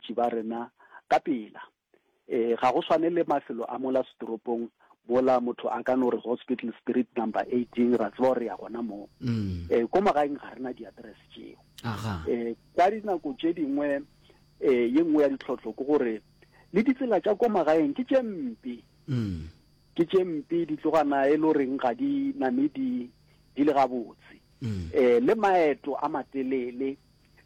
balwetši ba rena ka pela. E, ga go swane le mafelo a mola setoropong mola motho a ka no re Hospital Street number 18 ra tseba gore re ya gona moo. Mm. E, ko magaeng ga re na di-address tšeo. Aga. E, ka dinako tše dingwe e, ye nngwe ya ditlhohlo ke gore le ditsela tša ko magaeng ke tše mpe. Mm. Ke tše mpe di tlogana e le goreng ga di name di di le gabotse. Mm. E, le maeto a matelele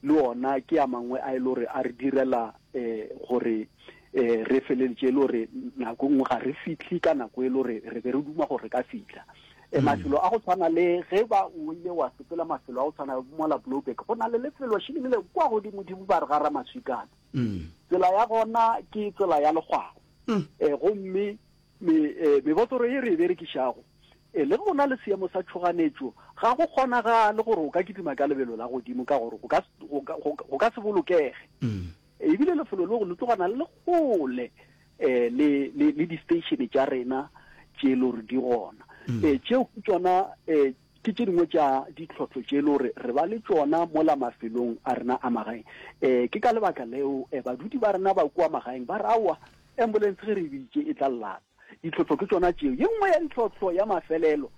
le ona ke a mangwe a e le gore a re direla um gore um re feleletše e le gore nako nngwe ga re fihle ka nako e le gore re be re duma gore re ka fihla. Um mafelo a go tshwana le ge ba o ile wa sepela mafelo a go tshwana le mola Blouberg go na le lefelo šileng le kwa godimodimo ba re ga Ramaswikana. Tsela ya gona ke tsela ya lekgwao. Um gomme Me, e, mebotoro ye re e berekišago, e, le ge go na le seemo sa tšhoganetšo, ga go kgonagale gore o ka kitima ka lebelo la godimo ka gore go ka, go ka, go, go ka se bolokege. E bile lefelo leo le tlogana le le kgole e, le, le, le di-station tša rena tše e le gore di gona. E, tšeo ke tšona e, ke tše dingwe tša ditlhohlo tše e le gore re ba le tšona mola mafelong a rena a magaeng. E, ke ka lebaka leo e, badudi ba rena ba kua magaeng ba re aowa, Ambulance ge re e biditše e tla llata. Ditlhohlo ke tšona tšeo. Ye nngwe ya ditlhohlo ya mafelelo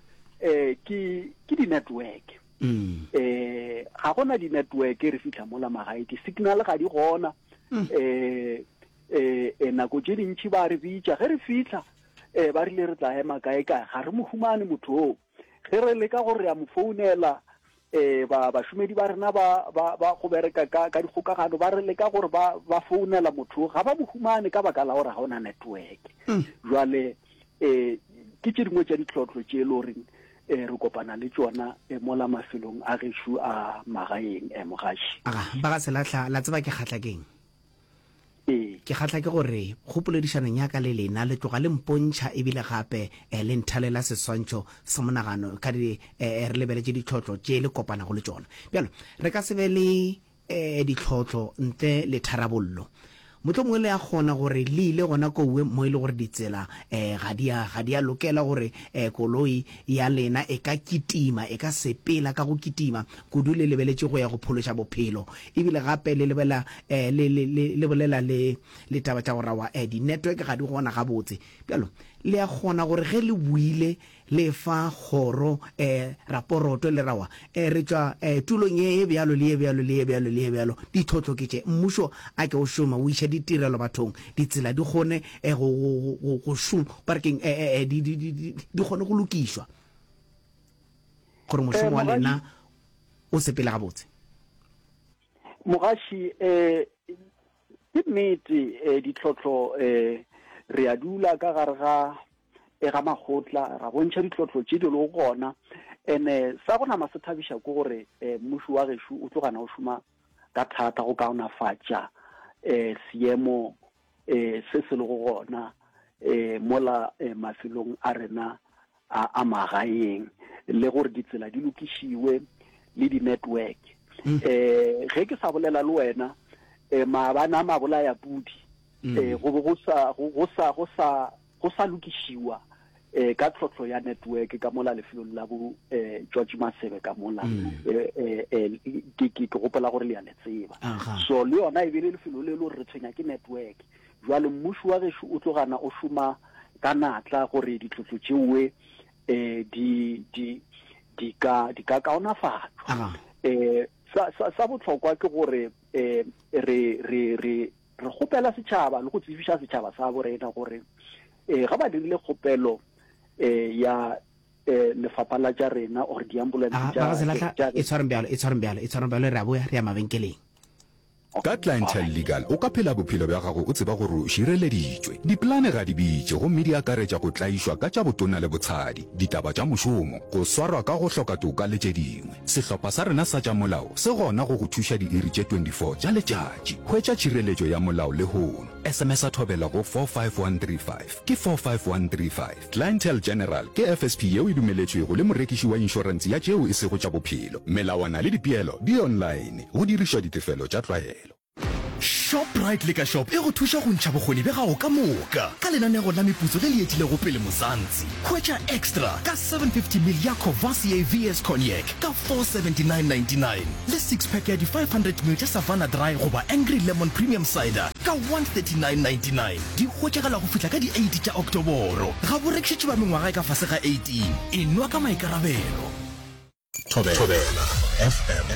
um ke ke di-network. Um ga gona di-network re fihla mola magae, di-signal ga di gona. Um um nako tše dintši ba re bitša ge re fihla um ba rile re tla ema kae kae, ga re mo humane motho oo. Ge re leka gore re a mo founela eh ba bašomedi ba rena ba ba ba go bereka ka ka dikgokagano ba re leka gore ba ba founela motho ga ba mo humane ka baka la gore ga ona network mm. jwale eh ke tše dingwe tša ditlhotlo tše e le goreng eh re kopana le tšona eh, mola mafelong a gešo a magaeng eh mogaši aga ba ga selahla la tseba ke kgatla keng Ee. Ke kgahla ke gore go poledišanong ya ka le lena le tloga le mpontšha e bile gape le nthalela seswantšho sa monagano ka di re lebeletše ditlhohlo tše le kopanago le tšona. Bjalo, re ka se be le ditlhohlo ntle le tharabollo. Mohlomongwe le a kgona gore le ile gona kouwe mo e le gore ditsela ga di a, ga di a lokela gore koloi ya lena e ka kitima, e ka sepela ka go kitima kudu le lebeletše go ya go phološa bophelo. E bile gape le lebela, le, le, le, le bolela le, le taba tša go rawa, di-network ga di gona gabotse. Bjalo, le a kgona gore ge le boile le fa kgoro, raporoto, le rawa, re tšwa, tulong ye, ye bjalo, le ye bjalo, le ye bjalo, le ye bjalo, ditlhohlo ke tše. Mmušo a ke o šome, o iše ditirelo bathong, ditsela di kgone, go, go, go, go šoma, ba re keng, di, di, di, di, di kgone go lokišwa, gore mošomo wa lena o sepele gabotse. Mogaši, eh, ke nnete eh, ditlhohlo eh, re a dula ka gare ga e ga makgotla ra bontšha ditlhohlo tše di lego gona ene sa go nama se thabiša ke gore eh, mmušo wa gešo o tlogana o šoma ka thata go kaonafatša eh, seemo eh, se se lego gona eh, mola eh, mafelong a rena a, a magaeng le gore ditsela di lokišiwe le di-network mm. eh ge ke sa bolela le wena eh maabane a mabolaya pudi mm. eh go go sa go sa go sa go sa lokišiwa eh ka tlhohlo ya network ka mola lefelong la bo eh George Masebe ka mola mm. eh, eh, eh ke ke ke gopola gore le ya le tseba so le yona e be le lefelo le le re tshwenya ke network Bjale mmušo wa gešo o tlogana o šoma ka natla gore ditlotlo tšeoe um di, di, di ka, di ka kaonafatšwa. Um sa, sa, sa bohlokwa ke gore um re, re, re, re kgopela setšhaba le go tsebiša setšhaba sa bo rena gore um ga ba dirile kgopelo um ya um lefapha la tša rena or diambulanse tša, tša, e tshwareng bjalo, e tshwareng bjalo, e tshwareng bjalo, re a boya, re ya mabenkeleng. Ka Clientele Legal o ka phela bophelo bja gago o tseba gore o šireleditšwe. Dipolane ga di bitše gomme di akaretša go tlaišwa ka tša botona le botshadi, ditaba tša mošomo, go swarwa ka go hloka toka le tše dingwe. Sehlopha sa rena sa tša molao se gona go go thuša diiri tše 24 tša letšatši. Hwetša tšhireletšo ya molao lehono. SMS-a Thobela go 45135. Ke 45135. Clientele General ke FSP yeo e dumeletšwego le morekiši wa inšorense ya tšeo e sego tša bophelo. Melawana le dipeelo di online, go dirišwa ditefelo tša tlwaelo. Shoprite Liquor Shop e go thuša go ntšha bokgoni bja gago ka moka ka lenanego la meputso le le etilego pele Mzansi. Hwetša Extra ka 750 ml ya Courvoisier VS Cognac ka 479.99 le six pack ya di 500 ml tša Savanna Dry goba Angry Lemon Premium Cider ka 139.99. Di hwetšagala go fihla ka di 8 tša Oktoboro. Ga bo rekišetšwe ba mengwaga e ka fase ga 18. Enwa ka maikarabelo. Thobela FM.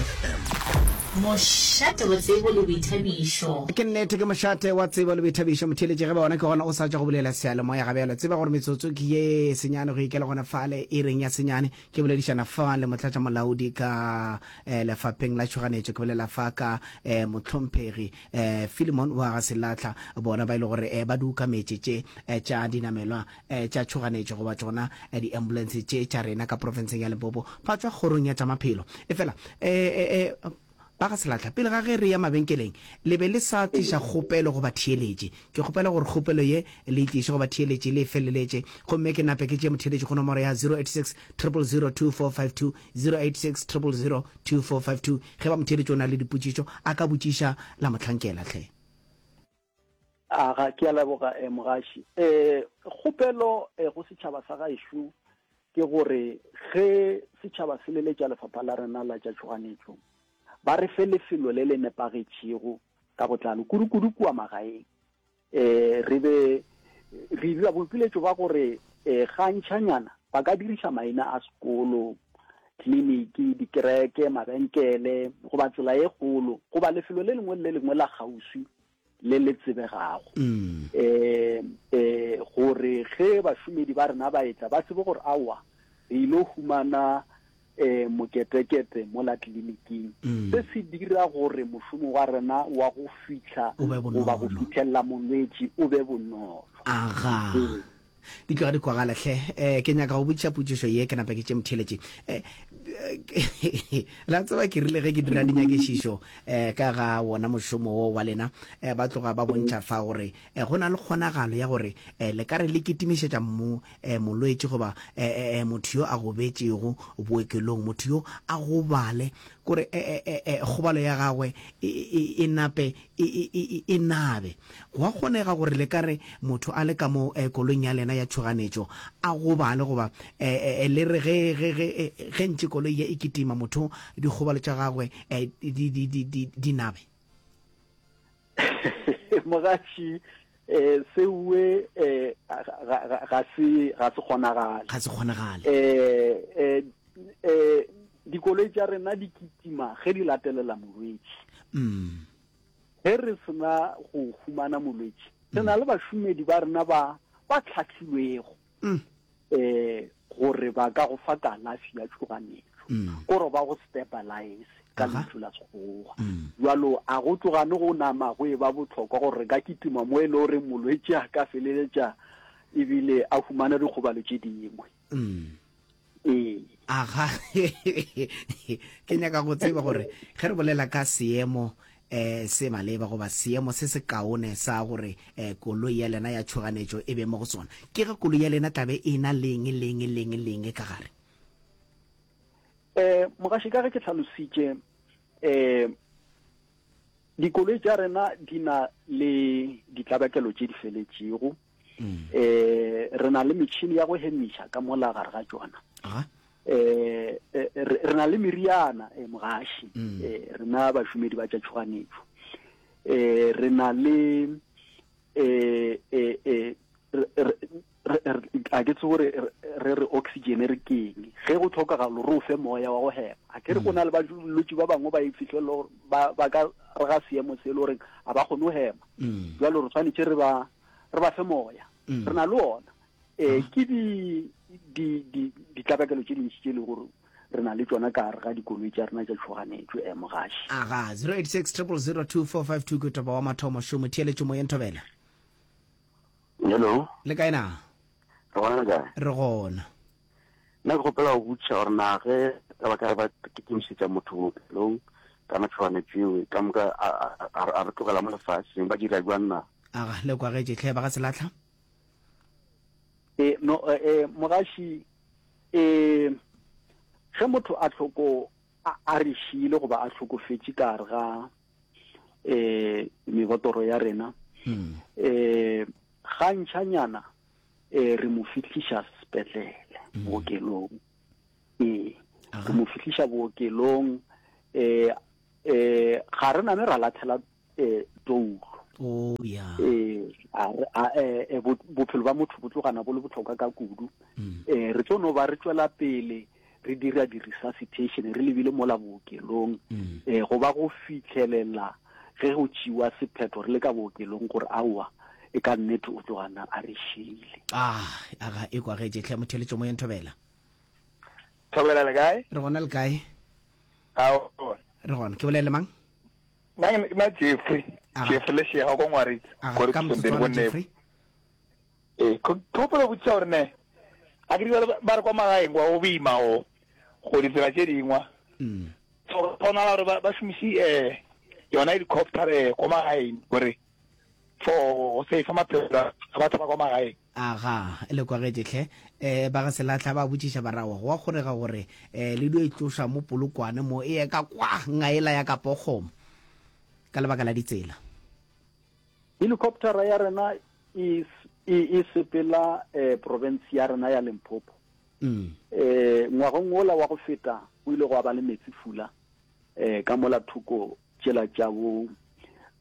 Mošate wa tsebo le boithabišo. Ke nnete, ke mošate wa tsebo le boithabišo. Motheeletši, ge ba ona ke gona o sa tšwa go bulela seyalemoya ga bjalo. Tseba gore metsotso ke ye senyane go ikela gona fale iring ya senyane. Ke boledišana fa le motlatšamolaodi ka eh, lefapheng la tšhoganetšo. Ke bolela fa ka eh, mohlomphegi eh, Philemon wa ga Selatlha, bona ba e le gore eh, ba di ukametše tše eh, tša dinamelwa eh, tša tšhoganetšo goba tšona eh, di-ambulance tše tša rena ka profenseng ya Limpopo ba tšwa kgorong ya tša maphelo. Efela eh, eh, eh, ba ga Selatlha, pele ga ge re ya mabenkeleng le be le sa tliša kgopelo go batheeletši. Ke kgopela gore kgopelo ye le e tliše go batheeletši le e feleletše, gomme ke nape ke tšee motheeletši go nomoro ya 086 000 2452, 086 000 2452. Ge ba motheeletši o na le dipotšišo a ka botšiša la mohlankela hle. Aga, ke a leboga eh, mogaši. Eh, kgopelo eh, go setšhaba sa gaešo ke gore ge setšhaba se leletša lefapha la rena la tša tšhoganetšo, ba re fe lefelo le le nepagetšego ka botlalo, kudu-kudu kua magaeng. Eh, re be re dira boipiletšo ba gore eh, gantšhanyana ba ka diriša maina a sekolo, tleliniki, dikereke, mabenkele, goba tsela e kgolo, goba lefelo le lengwe le le lengwe la kgauswi le le tsebegago um um gore ge bašomedi ba rena ba etla ba tsebe gore aowa re ile humana um moketekete mola tleliniking. Se se dira gore mošomo wa rena wa go fihla goba go fithelela molwetši o be bonolo. Aga. Di tloga di kwagala hle. Eh, ke nyaka go botšiša potšišo ye, ke nape ke tše motheeletši. Eh, la tseba ke rile ge ke dira dinyakišišo eh, ka ga wona mošomo wo wa lena, eh, ba tloga ba bontšha fa gore eh, go na le kgonagalo ya gore eh, le ka re le kitimišetša mo, eh, molwetši goba eh, eh, motho yo a gobetšego bookelong, motho yo a gobale, kore eh, eh, eh, kgobalo ya gagwe e, e, e nape e, e, e, e nabe. Go a kgonega gore le ka re motho a le ka mo eh, koloing ya lena ya tšhoganetšo a gobale goba eh, eh, le re ge, ge, ge, eh, ge ntše koloi ye e kitima motho dikgobalo tša gagwe eh, di, di, di, di, di nabe? Mogaši, eh, seue eh, ga, ga, ga se, ga se kgonagale. Ga se kgonagale. Eh, eh, eh, dikoloi tša rena di kitima ge di latelela molwetši. Mm. Ge re sena go humana molwetši, re na le bašomedi ba rena ba ba hlahlilwego Mm. eh gore ba ka go fa kalafi ya tšhoganetšo, Mm. kore ba go stabilize ka Aha. lentšu la Sekgowa. Mm. Bjalo a go tlogane go nama go e ba bohlokwa gore re ka kitima mo e le gore molwetši a ka feleletša ebile a humana dikgobalo tše dingwe. Mm. Ee. Aga, ke nyaka go tseba gore ge re bolela ka seemo eh se maleba goba seemo se se kaone sa gore eh koloi ya lena ya tšhoganetšo e be mo go sona, ke ge koloi ya lena tlabe e na leng leng leng leng ka gare? Eh, mogaši, ka ge ke hlalositše, eh dikoloi tša rena di na le ditlabakelo tše di feletšego. Mm. Eh, re na le metšhini ya go hemiša ka mola gare ga tšona. Eh, eh, re na le meriana, eh, mogaši. Mm. Eh, rena bašomedi ba tša tšhoganetšo. Eh, re na le, eh, eh, eh, a ke tsebe gore re re oxygen re keng ge go tlhokagalo re o fe moya wa go hema. A ke re go na le balwetši ba bangwe ba e fihlelele gore ba ka re ga seemo se e le goreng ga ba kgone go hema. Mm. Jwalo re tshwanetse re ba, re ba fe moya. Mm. Re na le ona. Eh, ke di, di, di, ditlabakelo tše dintši tše e lego gore re na le tšona ka gare ga dikoloi tša rena tša tšhoganetšo, eh, mogaši. Aga, 086 000 2452 ke topa wa mathomo šomo theeletšo moyeng thobela. Hello. Le kae na? Re gona le kae? Re gona. Nna ke kgopela go botšiša gore na ge ka ba ka re ba kitimišetša motho bookelong ka matšhoganetšo eo ka moka a re tlogela mo lefaseng ba dira jwang na? Aga, le kwagetše hle ba ga Selatlha? E, no, e, mogaši, e, ge motho a hloko, a, a re šiile goba a hlokofetše ka gare ga, um mebotoro ya rena um gantšhanyana um re mo fihliša sepetlele mm. bookelong ee re mo fihliša bookelong um um ga re name ra latlhela um toulo oh, yeah. ee eh, bophelo ba motho bo tlogana bo le botlhokwa ka kudu um re tlo no ba re tswela pele re dira di-resuscitation re lebile mola bookelong um go ba go fitlhelela ge go tšiwa sephetho re le ka bookelong gore aowa e ka nnete o tlogana a re šile ah aga e kwagetše tlhe motheletšo moyeng thobela thobela le kae re gona le kae aowa re gona ke bolele mang nna ke na Jeffrey Jeffrey Leshega ko Ngwaritse ko ka motsotswana Jeffrey ee ke gopola botšiša gore ne a ke dibale ba re kwa magaeng kwa go boima go go ditsela tše dingwa mm. so kgonala gore ba šomise um yona helicopter um kwa magaeng gore for go safe maphelo a batho ba kwa magaeng Aga, le kwagetše hle. E, ba ga Selatlha ba botšiša ba ra, Aowa, go a kgonega gore e, le dio e tloša mo Polokwane mo e ye ka kwa ngaela ya ka Pokgomo ka lebaka la ditsela. Helicoptera ya rena e, e, e sepela e, province ya rena ya Limpopo. Mm. E, ngwageng wola wa go feta o ile gwa ba le metsi fula e, ka mola thoko tšela tša bo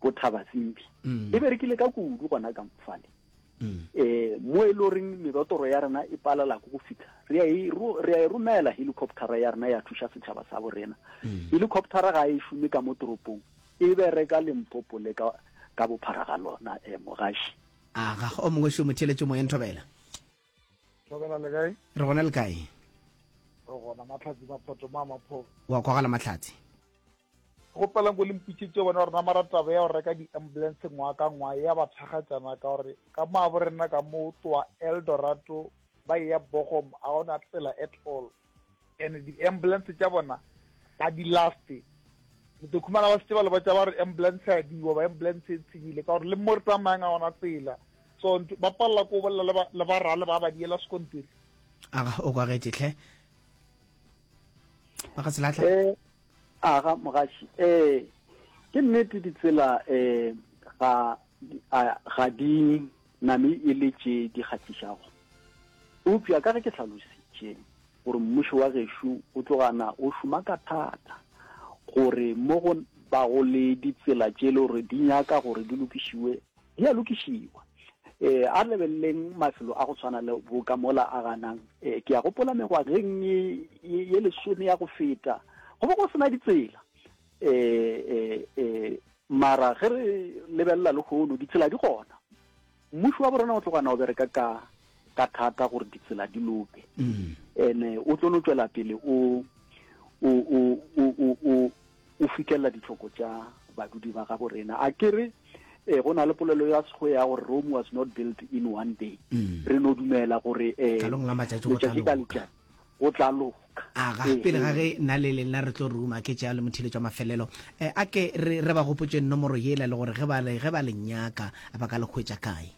bo Thabasimbi. Mm. E berekile ka kudu gona ka mfale. Mm. Eh mo e loreng mebotoro ya rena e palela go fihla. Re a e re a e romela helicopter ya rena ya thuša setšhaba sa bo rena. Mm. Helicopter ga e šome ka mo toropong. E bereka Limpopo le ka ka bophara ga lona eh mogaši. A ga o mongwe šo motheletšo moyeng thobela. Thobela le kae? Re gona le kae? Re gona Mahlatsi Maphoto ma Maphoto. Wa kwagala Mahlatsi. Kgopela nko le mpitšetše bone gore na mara taba ya go reka di-ambulance ngwaga ka ngwaga ya ba thakgatšana ka gore ka mo abo rena ka mo tloa Eldorado ba eya Bochum a gona tsela at all and di-ambulance tša bona ga di laste le tlo khumana ba setse ba le botša ba re ambulance ya diwa ba ambulance e tshenyile ka gore le mo re tsamayang a gona tsela so ba palela ko bolela le ba rale ba ba diela sekontiri aga o kwagetše tlhe ba ga selatlha eh aga mogaši eh ke nnete ditsela eh ga ga di name e le tše di kgahlišago eupša ka ge ke hlalositše gore mmušo wa gešo o tlogana o šoma ka thata gore mo go bago le ditsela tše le gore di nyaka gore di lokišiwe di a lokišiwa. Eh, a re lebeleleng mafelo a go tshwana le bo ka mola a ganang. Eh, ke a gopola mengwageng ye, ye, ye lesome ya go feta, go be go sena ditsela. Eh, eh, eh, mara ge re lebelela lehono, ditsela di gona. Mmušo wa borena o tlogana o bereka ka ka thata gore ditsela di loke. Mm. Ene o tlo no tšwela pele o o o o o o fihlelela ditlhoko tša badudi ba gabo rena. A ke re eh, go na le polelo ya sekgowa ya gore Rome was not built in one day. Mm. Re no dumela gore eh, Qalong la matšatši go tla letšatši ka loka. letšatši go tla loka. Aga, Ee, pele ga ee. ge nna le lena re tlo ruma ke tšea le motheeletši wa mafelelo, eh, a ke re, re ba gopotše nomoro yela le gore ge ba le, ge ba le nyaka ba ka le hwetša kae.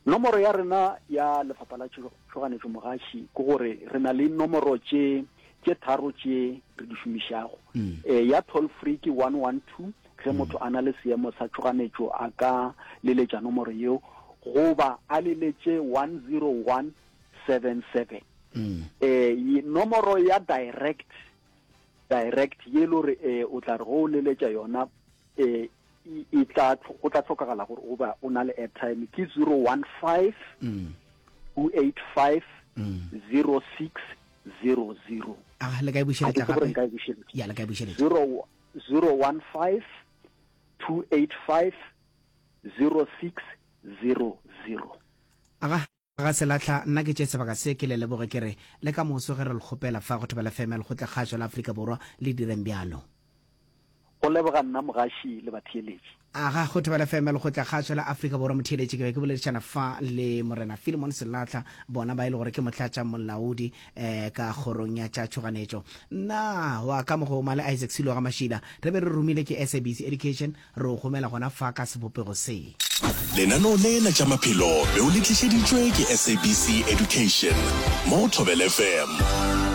Nomoro ya rena ya Lefapha la Tšhoganetšo Mogaši ke gore re na le nomoro tše tše tharo tše re di šomišago. Mm. E, ya toll free ke 112 ge mm. motho a na le seemo sa tšhoganetšo a ka leletša nomoro yeo goba a leletše 10177. Mm. E, nomoro ya direct direct ye le gore e, o tla re go o leletša yona e, e tla go tla tlhokagala gore o ba o na le airtime ke 015 mm. 285 mm. 0600 a le ka e bušeletša gape ya le ka e bušeletša 015 285 0600 aga Ga Selahla, nna ke tše sebaka se ke le leboge ke re le ka moso ge re le kgopela fa go Thobela FM ya Lekgotlakgašo la Afrika Borwa le direng bjalo. Go leboga nna mogaši le batheeletši. Aga, go Thobela FM ya Lekgotlakgašo la Afrika Borwa motheeletši ke be ke boledišana fa le Morena Philemon Selahla bona ba e le gore ke motlatša molaodi eh, ka kgorong ya tša tšhoganetšo. Nna wa ka mogoma le Isaac Silo ga Mašila re be re romile ke SABC Education Re o gomela gona fa ka sebopego se. Lenaneo le la tša maphelo be o le tlišeditšwe ke SABC Education mo go Thobela FM.